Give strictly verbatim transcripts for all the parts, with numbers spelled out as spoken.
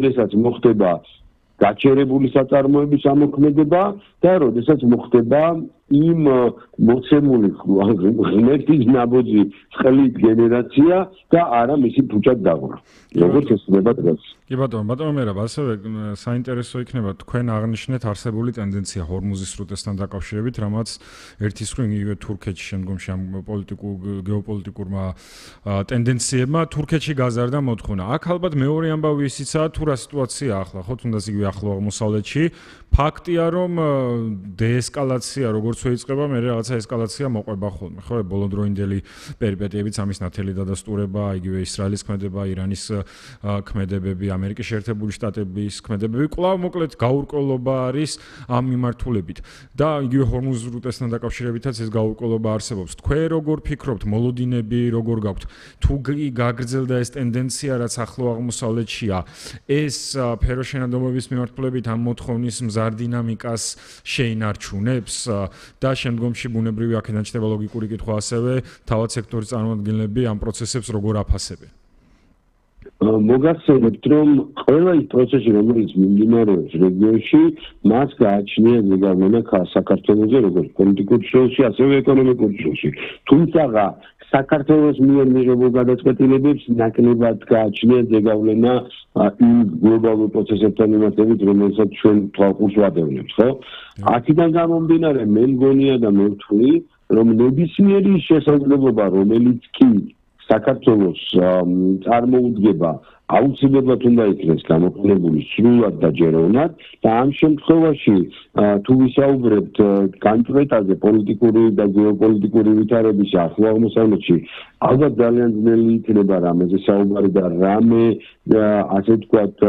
როდესაც მოხდება გაჩერებული საწარმოების ამოქმედება და როდესაც მოხდება იმ მოცემული ღმერთის ნაბოძი წყლით გენერაცია და არა მისი ფუჭად დაღვრა. როგორც ესწრება დღეს. კი ბატონო, ბატონო მერაბ, ასევე საინტერესო იქნება თქვენ აღნიშნეთ არსებული ტენდენცია ჰორმუზის სრუტესთან დაკავშირებით, რამაც ერთის მხრივ იგივე თურქეთში შემდგომში ამ პოლიტიკურ გეოპოლიტიკურმა ტენდენციებმა თურქეთში გაზარდა მოთხოვნა. აქ ალბათ მეორე ამბავი ისიცაა თუ რა სიტუაცია ახლა, ხო თუნდაც იგივე ახლო აღმოსავლეთში, ფაქტია რომ დეესკალაცია როგორც შეიძლება მე რაღაცა ესკალაცია მოყვება ხოლმე ხო ბოლოდროინდელი პერიპეტიებიც ამის ნათელი დადასტურება იგივე ისრაელის ქმედება ირანის ქმედებები ამერიკის შეერთებული შტატების ქმედებები კვლავ მოკლედ გაურკვევლობა არის ამ მიმართულებით და იგივე ჰორმუზის სრუტესთან დაკავშირებითაც ეს გაურკვევლობა არსებობს თქვენ როგორ ფიქრობთ მოლოდინები როგორ გაქვთ თუ გაგრძელდა ეს ტენდენცია რაც ახლო აღმოსავლეთშია ეს ფეროშენადობების მიმართულებით ამ მოთხოვნის მზარ დინამიკას შეინარჩუნებს და შემდგომში ბუნებრივი აქედან ჩნდება ლოგიკური კითხვა ასევე თავად სექტორის წარმომადგენლები ამ პროცესებს როგორ აფასებენ მოგახსენებთ რომ ყველა ის პროცესი რომელიც მიმდინარეობს რეგიონში მას გააჩნია ზეგავლენა საქართველოზე როგორც პოლიტიკურ სფეროში ასევე ეკონომიკურ სფეროში თუმცა საქართველოს მიერ მიღებულ გადაწყვეტილებებს ნაკლებად გააჩნია ზეგავლენა იმ გლობალურ პროცესებთან მიმართებით რომელსაც ჩვენ თვალყურს ვადევნებთ ხო აქედან გამომდინარე მე მგონია და მე ვთვლი რომ ნებისმიერი შესაძლებლობა რომელიც კი საქართველოს წარმოუდგება აუცილებლად უნდა იქნეს გამოყენებული სრულად და ჯეროვნად და ამ შემთხვევაში თუ ვისაუბრებთ განწყვეტაზე პოლიტიკური და გეოპოლიტიკური ვითარების ახლო აღმოსავლეთში ალბათ ძალიან ძნელი იქნება რამეზე საუბარი და რამე ასე ვთქვათ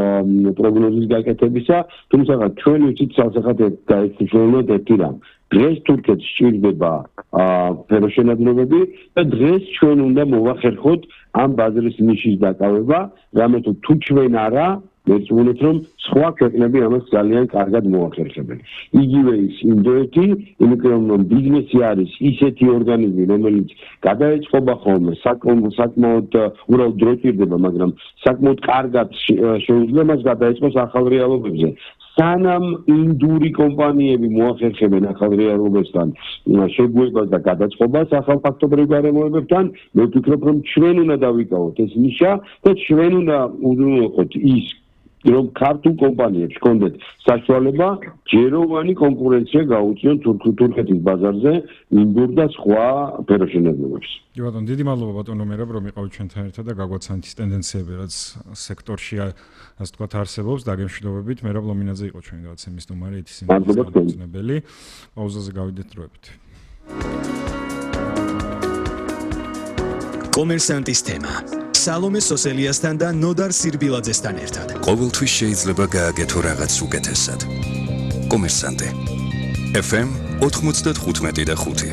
პროგნოზის გაკეთებისა თუმცა ჩვენ ვიცით სასახათად გაიხსენოთ ერთი რამ დღეს თურქეთს სჭირდება ფეროშენადნობები და დღეს ჩვენ უნდა მოვახერხოთ ამ ბაზრის ნიშის დაკავება, რამე თუ თუ ჩვენ არა, მეცნიერებთ რომ სხვა ქვეყნები ამას ძალიან კარგად მოახერხებენ. იგივე ის ინდოეთი, იმიტომ რომ ბიზნესი არის ისეთი ორგანიზმი, რომელიც გადაეწყობა ხოლმე საკმაოდ უბრალოდ დრო ჭირდება, მაგრამ საკმაოდ კარგად შეუძლია მას გადაეწყოს ახალ რეალობებზე. სანამ ინდური კომპანიები მოახერხებენ ახალ რეალობასთან შეგუებას და გადაწყობას ახალ ფაქტობრივ გარემოებებთან, მე ვფიქრობ, რომ ჩვენ უნდა დავიკავოთ ეს ნიშა და ჩვენ უნდა უზრუნველყოთ ის რომ ქართულ კომპანიებს ჰქონდეთ საშუალება ჯეროვანი კონკურენცია გაუწიონ თურქეთის ბაზარზე ინდურ და სხვა ფეროშენადნობებს. კი ბატონო, დიდი მადლობა ბატონო მერაბ რომ იყავით ჩვენთან ერთად და გაგვაცანით ის ტენდენციები რაც სექტორში ასე ვთქვათ არსებობს დაგემშვიდობებით მერაბ ლომინაძე იყო ჩვენი გადაცემის სტუმარი ითის ინფორმაციული პაუზაზე გავიდეთ დროებით. კომერსანტის თემა სალომე სოსელიასთან და ნოდარ სირბილაძესთან ერთად. ყოველთვის შეიძლება გააკეთო რაღაც უკეთესად. კომერსანტე. ეფ ემ ოთხმოცდათხუთმეტი და ხუთი